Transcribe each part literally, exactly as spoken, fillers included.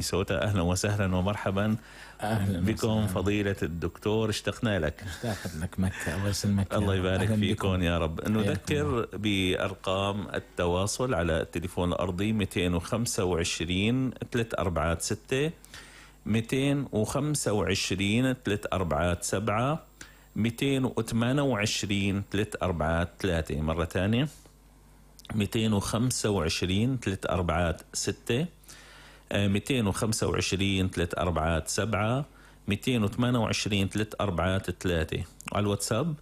مينيسوتا. أهلا وسهلا ومرحبا أهلا بكم وسهلا. فضيلة الدكتور، اشتقنا لك. اشتاقت لك مكة، الله يسلمك. الله يبارك فيكم بكم. يا رب. نذكر بأرقام التواصل على التليفون الأرضي مئتين وخمسة وعشرين ثلاثة أربعة ستة، مئتين وخمسة وعشرين ثلاثة أربعة سبعة، مئتين وثمانية وعشرين ثلاثة أربعة ثلاثة. مرة ثانية مئتين وخمسة وعشرين ثلاثة أربعة ستة، مئتين وخمسة وعشرين ثلاثة أربعة سبعة، مئتين وثمانية وعشرين ثلاثة أربعة ثلاثة. على الواتساب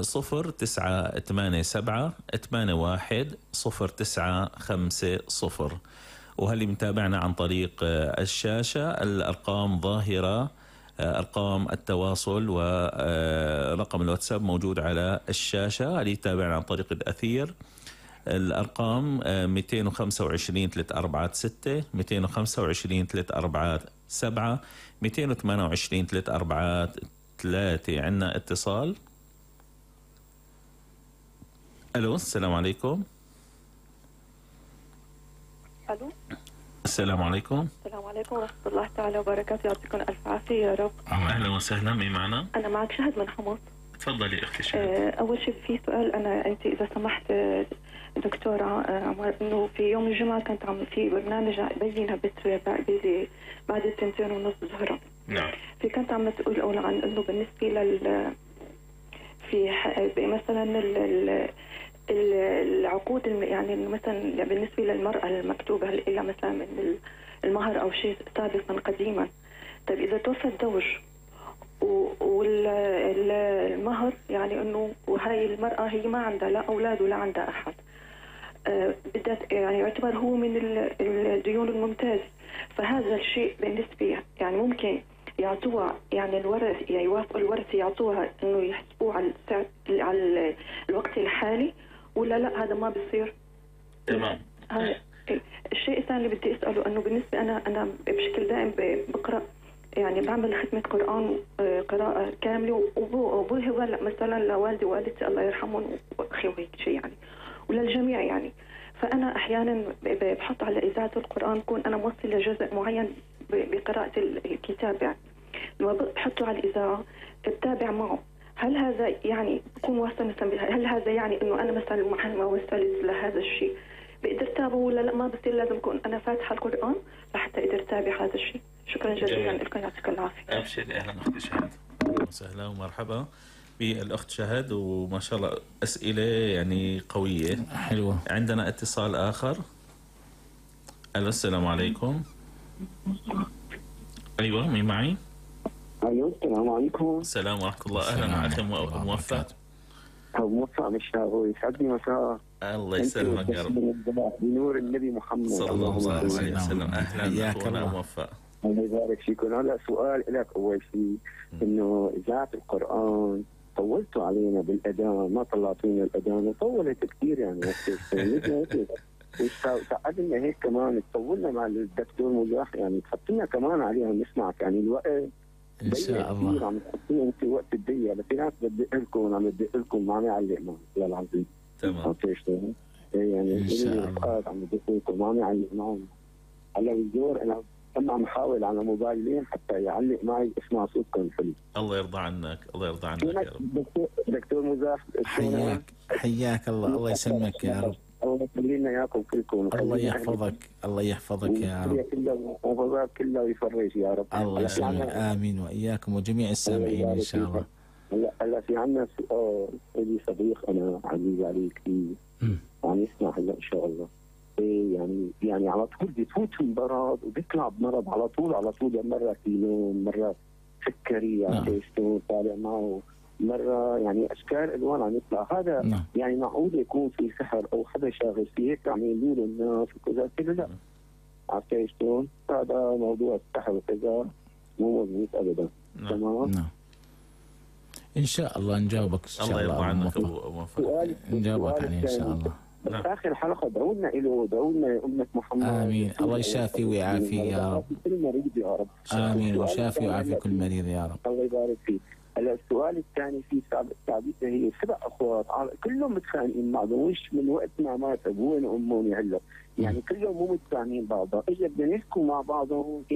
صفر تسعة ثمانية سبعة ثمانية واحد صفر تسعة خمسة صفر. وهل متابعنا عن طريق الشاشة الأرقام ظاهرة، أرقام التواصل ورقم الواتساب موجود على الشاشة. اللي يتابعنا عن طريق الأثير الأرقام مئتين وخمسة وعشرين ثلاثة أربعة ستة، مئتين وخمسة وعشرين ثلاثة أربعة سبعة، مئتين وثمانية وعشرين ثلاثة أربعة ثلاثة. عندنا اتصال. ألو، السلام عليكم. ألو، السلام عليكم. السلام عليكم ورحمة الله تعالى وبركاته. يعطيكم ألف عافية يا رب. أهلا وسهلا. مين معنا؟ أنا معك شهد من حمص. تفضلي أختي شهد. أه أول شيء في سؤال، أنا أنت إذا سمحت دكتورة عمر، إنه في يوم الجمعة كنت عم في برنامج بينها بت بعد التنتين ونص ظهرا. نعم. في كنت عم تقول أولا عن إنه بالنسبة لل في مثلا ال العقود، يعني مثلا بالنسبة للمرأة المكتوبة إلا مثلا من المهر أو شيء سابقا قديما. طيب إذا توفى الزوج والمهر، يعني إنه وهاي المرأة هي ما عندها لا أولاد ولا عندها أحد، أه بدأت يعني يعتبر هو من الديون الممتاز، فهذا الشيء بالنسبة يعني ممكن يعطوها، يعني الورث يعني يوافقوا الورث يعطوها إنه يحسبوه على على الوقت الحالي، ولا لا هذا ما بيصير؟ تمام. هذا الشيء الثاني اللي بدي اساله، انه بالنسبه انا انا بشكل دائم بقرا، يعني بعمل ختمه قران قراءه كامله، وابوي هو مثلا لوالدي ووالدتي الله يرحمهم واخي وهيك شيء يعني، وللجميع يعني. فانا احيانا بحط على اذاعه القران، كون انا موصل لجزء معين بقراءه الكتاب، يعني لما بحطه على الاذاعه بتابع معه. هل هذا يعني بكون واصل مثلا، هل هذا يعني انه انا مثلا محل ما وصلت لهذا الشيء بقدر تابعه، ولا لا ما بصير لازم اكون انا فاتحه القران لحتى اقدر اتابع هذا الشيء؟ شكرا جزيلا لكم، يعطيكم العافيه. ابشري. اهلا اختي شهد. اهلا وسهلا ومرحبا بالاخت شهد، وما شاء الله اسئله يعني قويه حلوه. عندنا اتصال اخر. الو، السلام عليكم. ايوه، مين معي؟ ايوه، السلام عليكم. السلام ورحمه الله. اهلا معك. موفق. موفق بالشهر، يسعدني مساء. الله يسلمك يا رب. بنور النبي محمد صلى الله عليه وسلم. اهلا اخونا موفق. الله يبارك فيكم. هلا سؤال لك اول شيء، انه اذاعه القران طولتوا علينا بالاذان، ما طلعتونا الاذان وطولت كثير يعني. وساعدنا هيك كمان تطولنا مع الدكتور مزاح، يعني تحطينا كمان عليها نسمعك، يعني الوقت ان شاء الله. عم تحطينا انت وقت الدقيقه، بس في ناس بدق لكم عم بدق لكم ما عم يعلق معي والله العظيم. تمام. يعني ان شاء الله عم بدق لكم ما عم يعلق معي. هلا بالدور انا كم عم حاول على موبايلين حتى يعلق معي اسمع صوتكم حلو. الله يرضى عنك. الله يرضى عنك يا رب. دكتور مزاح، حياك حياك الله. الله يسلمك يا رب. الله يخلي لنا اياكم كلكم. الله يحفظك. الله يحفظك يا رب. كلها كلها ويفرج يا رب. الله يسلمك. امين واياكم وجميع السامعين ان شاء الله. هلا هلا في عندنا سؤال لي صديق انا عزيز علي كثير وعم يسمع هلا ان شاء الله. ايه يعني يعني على طول بيفوت المرض وبيطلع بمرض على طول على طول، مره كيلو، مره سكري يعني طالع معه، مره يعني اشكال الوان عم يطلع. هذا نعم. يعني معقول يكون في سحر او حدا شاغل فيه هيك عم يقولوا الناس وكذا كذا؟ لا، عرفت شلون؟ هذا موضوع السحر وكذا مو مضبوط ابدا. نعم. تمام. نعم. ان شاء الله نجاوبك ان شاء الله. الله يرضى عنك وموفق. نجاوبك عليه ان شاء الله. نعم. اخر حلقه دعوا لنا له، دعوا لنا يا امه محمد. امين. الله يشافي ويعافي يا رب. كل مريض يا رب. امين. وشافي ويعافي كل مريض يا رب. الله يبارك فيك. هلا السؤال الثاني في ثابته، هي سبع اخوات كلهم متخانقين مع بعض، وش من وقت ما مات ابوهم وامهم هلا يعني كل يوم مو متفاهمين بعض، اجى بدنا نحكوا مع بعضهم